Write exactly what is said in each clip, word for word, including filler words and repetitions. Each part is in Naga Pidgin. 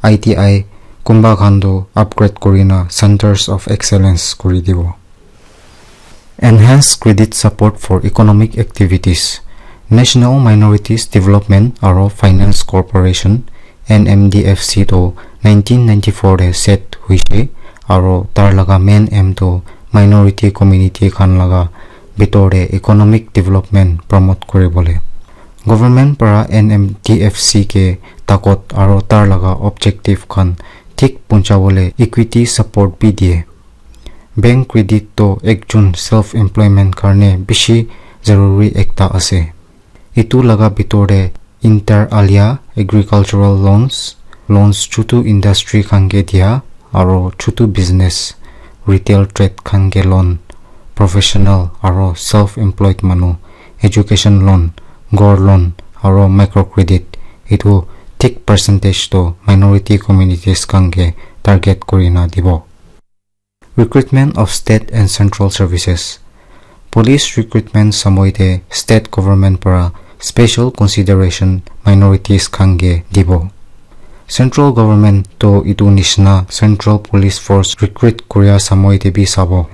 I T I, kunba khan toh upgrade kurina Centers of Excellence kuri dibo. Enhanced credit support for economic activities. National Minorities Development aro Finance Corporation, N M D F C, toh nineteen ninety-four te set hoise, aro tar laga main aim toh minority community khan laga bitor te economic development promote kuribole. Government para N M D F C ke takot aro tar laga objective khan thik puncha bole equity support bi diye. Bank credit toh ekjon self employment karne bishi zaruri ekta ase. Etu laga bitor te inter alia agricultural loans, loans chutu industry khan ke dia, aro chutu business, retail trade khan ke loan, professional aro self employed manu, education loan, ghor loan, aro micro credit, etu thik percentage toh minority communities khan ke target kurina dibo. Recruitment of state and central services. Police recruitment samoi te state government para special consideration minorities khan ke dibo. Central government toh etu nishina central police force recruit kuria samoi te bi sabo.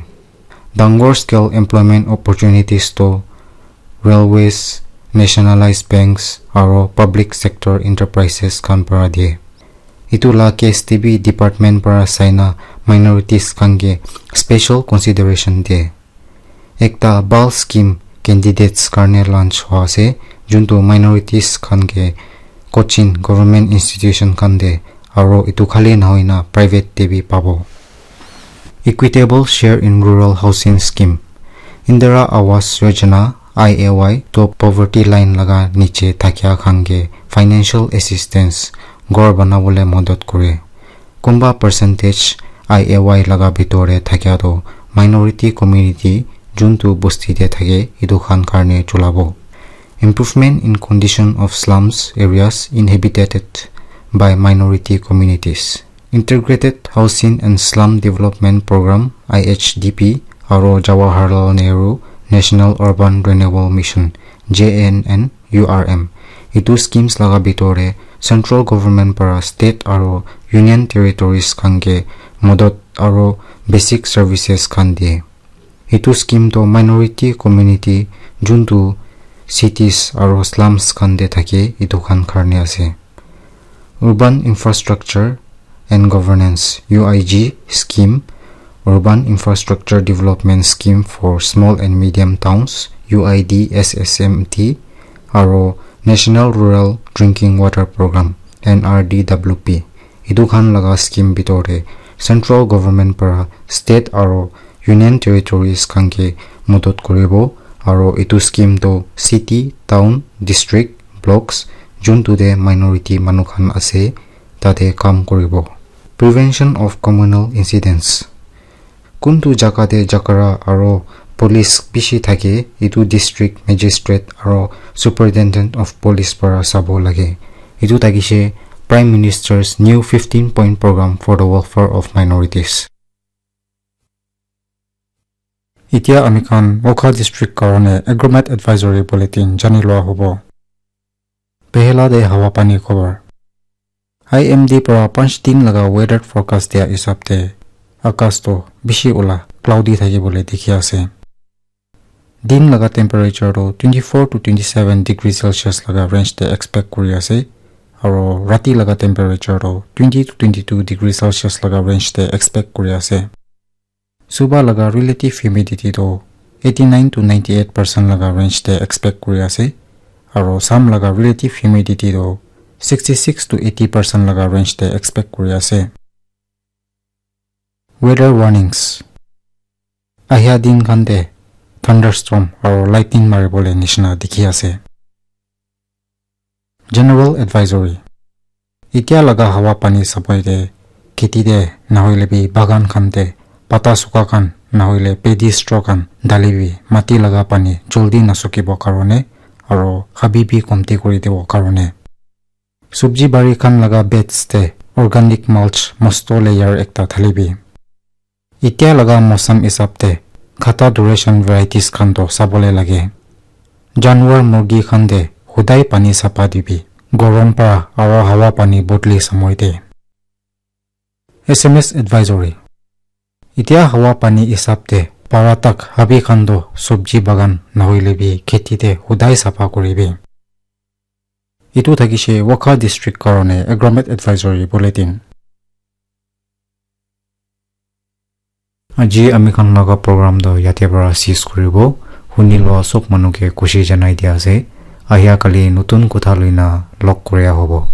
Dangor scale employment opportunities toh railways, nationalized banks, aro public sector enterprises khan para diye. Etu la case te bi department para saina minorities khan ke special consideration diye. Ekta bhal scheme candidates karne launch hua ase, juntu minorities khan ke coaching government institution khan te aro etu khali nahoina private te bi pabo. Equitable share in rural housing scheme. Indira Awas Yojana, I A Y, toh poverty line laga niche thakia khan ke financial assistance, ghor banabole madad kure. Kunba percentage I A Y laga bitor te thakia toh minority community juntu bosti te thake etu khan karne chulabo. Improvement in condition of slums areas inhabited by minority communities. Integrated Housing and Slum Development Program, I H D P, aro Jawaharlal Nehru National Urban Renewal Mission, J N N U R M. Etu schemes laga bitor te central government para state aro union territories khan ke madad aro basic services khan diye. Etu scheme toh minority community juntu cities aro slums khan te thake etu khan karne ase. Urban Infrastructure and Governance, U I G scheme, Urban Infrastructure Development Scheme for Small and Medium Towns, U I D S S M T, aro National Rural Drinking Water Program, N R D W P. Etu khan laga scheme bitor te central government para state aro union territories khan ke madad kuribo, aro etu scheme toh city, town, district, blocks, juntu te minority manu khan ase, tate kam kuribo. Prevention of communal incidents. Kuntu jaga te jhagara aro police bishi thake, etu district magistrate aro superintendent of police para sabo lage. Etu thakishe Prime Minister's new fifteen point program for the welfare of minorities. Etia ami khan Wokha district karone Agromet Advisory Bulletin jani lua hobo. Pehela te hawa pani khobor. I M D para panch din laga weather forecast dia hisab te akas toh bishi ula cloudy thaki bole dikhi ase. Din laga temperature toh twenty-four to twenty-seven degree Celsius laga range te expect kuri ase, aro rati laga temperature toh twenty to twenty-two degree Celsius laga range te expect kuri ase. Suba laga relative humidity toh eighty-nine to ninety-eight percent laga range te expect kuri ase, aro Sam laga relative humidity toh sixty-six to eighty percent laga range te expect kuri ase. Weather warnings. Ahia din khan te thunderstorm aro lightning mari bole nishina dikhi ase. General advisory. Etia laga hawa pani sabai te kheti te nahoile bi bagan khan te pata sukha khan nahoile paddy straw khan dali bi mati laga pani joldi nasukibo karone aro habi bi komti kuri dibo karone. Subji bari khan laga beds te organic mulch mosto layer ekta thali bi. Etia laga mosam hisab te khata duration varieties khan toh sabole lage. Janwar murgi khan te hudai pani sapa dibi. Gorom para aro hawa pani bodli samoi te. S M S Advisory. Etiya hawa pani hisab te para tak habi khan toh sobji bagan nahoile bi kheti te hudai sapha kuribi. Etu thakishe Wokha District karone Agromet Advisory Bulletin. Aji ami khan laga program toh yate para cease kuribo. Huni loa sob manu ke khushi janai dia ase. Ahia kali notun kotha loina log koria hobo.